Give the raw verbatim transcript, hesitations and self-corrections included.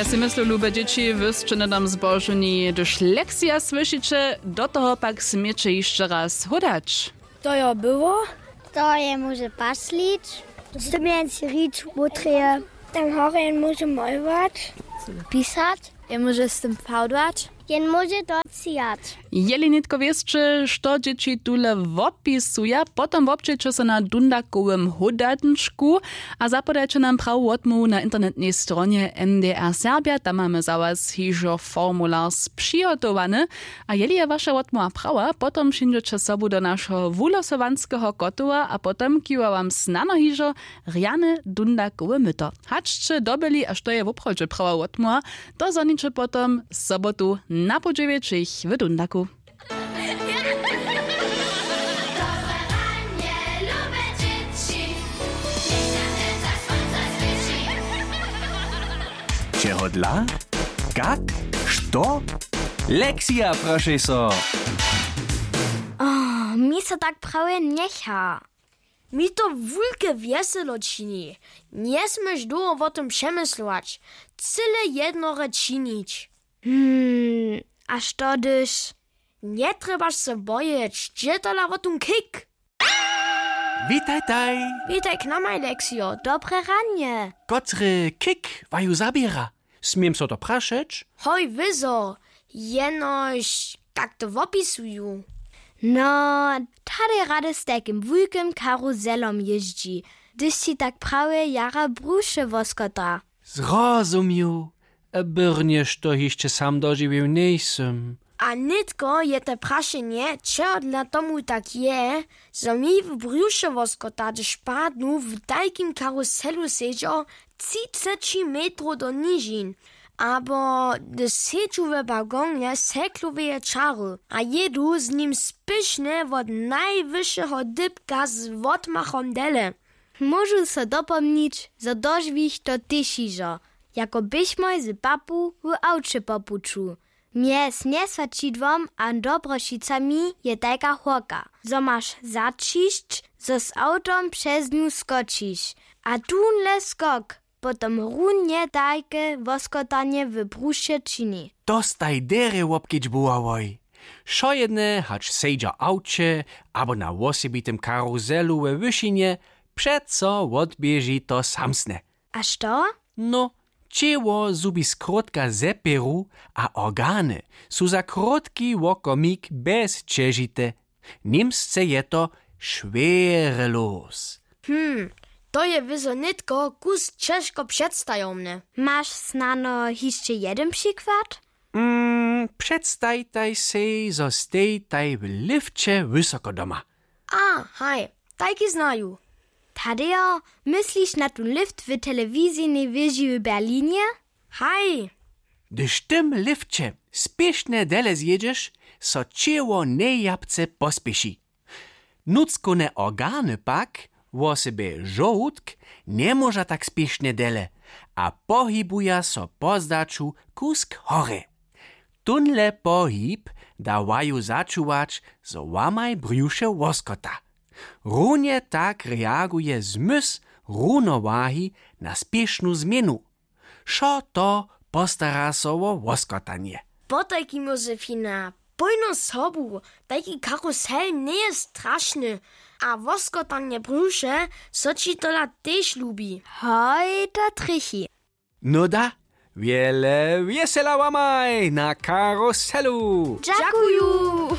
Sej myslu, lube dźěći, wy sće hnydom zbožowni, hdyž lekcija słyšiće, do toho pak směće hišće raz hódać. To jo było. To je móže paslić. Z tym jen si rić wótreje. Tam horje jen móže molować. Pisać. Jen móže z tym fałdować. Jen móže to cijać. Jeli nětko wěsće, što dźěći tule wopisuja, potom wobdźěće so na dundakowym hódančku a zapodajće nam prawu wotmołwu na internetnej stronje N D R Serbja. Tam mamy za was hižo formular přihotowany. A jeli je waša wotmołwa prawa, potom přińdźeće sobu do našeho wulosowanskeho kotowa a potom kiwa wam snano hižo rjane dundakowe myto. Hač sće dobyli, a što je woprawdźe prawa wotmołwa, to zhoniće potom sobotu na poł dźewjećich w dundaku. Čehodla? Kak? Što? Lekcija, prošej so. Oh, mi so tak prawje njecha. Mi to wulke wjeselo čini. Njesměš dołho wo tym přemyslować. Cyle jednore činić. Hmm, a što hdyž? Njetrjebaš se bojeć, dźe tola wo tón kik. Witajtaj. Witaj k namaj, Leksijo, dobre ranje. Kotry kik waju zaběra? Směm so to prašeć? Hoj, wězo, jenož tak to wopisuju. No, tadej rady z tajkim wulkim karuzelom jězdźi, hdyž ći tak prawje jara bruše woskota. Zrozumił. Byrnje što hišće sam dožiwił njejsym. A nětko je te prašenje, čehodla tomu tak je, zo mi w brjušewoskota, hdyž padnu, w tajkim karuselu sedźo třiceći metrow do nižin, abo hdyž sedźu we wagonje sekloweje čary a jědu z nim spěšnje wot najwyšeho dypka z wotmachom dele. Móžu so dopomnić, zo dožiwich to tež hižo, jako běchmoj z papu w awče po puću. Mjez njeswaćidłom a dobrošicami je tajka hórka, zo maš zaćišć, zo z awtom přez nju skočiš. A tónle skok potom runje tajke woskotanje w bruše čini. Dostaj derje wobkedźbowało. Wšojedne, hač sedźa w awće abo na wosebitym karuselu we wyšinje, přeco wotběži to samsne. A što? No, ćěło zhubi skrótka zepěru a organy su za krótki wokomik bezćežite. Němsce je to Schwerelos. Hm, to je wězo nětko kus ćežko předstajomne. Maš snano hišće jedyn přikład? Mm, předstajtaj sej, zo stejtaj w lifće wysoko doma. A, haj, tajki znaju. Tadejo, mysliš na tón lift w telewizijnej wěži w Berlinje? Haj. Hdyž w tym lifće spěšnje dele zjědźeš, so ćěło njejapce pospěši. Nutřkowne organy pak, wosebje žołdk, njemóža tak spěšnje dele a pohibuja so po zdaću kusk horje. Tónle pohib da waju začuwać, zo wamaj brjuše woskota. Runje tak reaguje zmysł runowahi na spěšnu změnu. Wšo to postara so wo woskotanje. Potajkim, Josefina, pójno sobu, tajki karusel njeje strašny. A woskotanje brjuše so ći tola tež lubi. Hoj, to trjechi. Nuda, wjele wjesela wamaj na karuselu. Dźakuju.